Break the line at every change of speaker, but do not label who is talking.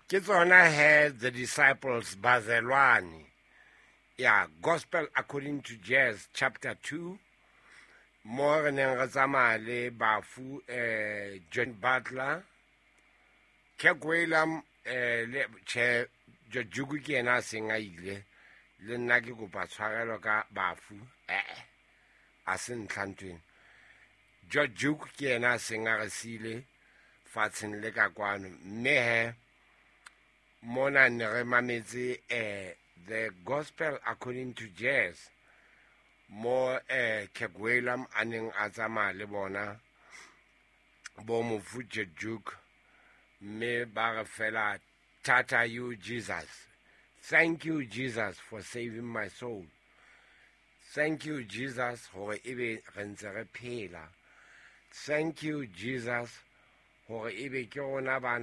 Ke tsona he the disciples bazelwane ya Gospel According to Jazz chapter 2, mo re neng re tsamaya le bafu John Butler, Kirk Whalum, le che Jojuku ke yena a seng a ile. Le nna ke kopa tshwarelo ka bafu, a se ntlha ntweng. George Duke ke yena a seng a re siile fatsheng le ka kwano, mme he mona ne re mametse The Gospel According to Jazz, mo Kirk Whalum a neng a tsamaya le bona bo mofu George Duke, mme ba re fela tata you Jesus, thank you Jesus for saving my soul, thank you Jesus hore ebe re ntse re phela, thank you Jesus hore ebe ke rona bana.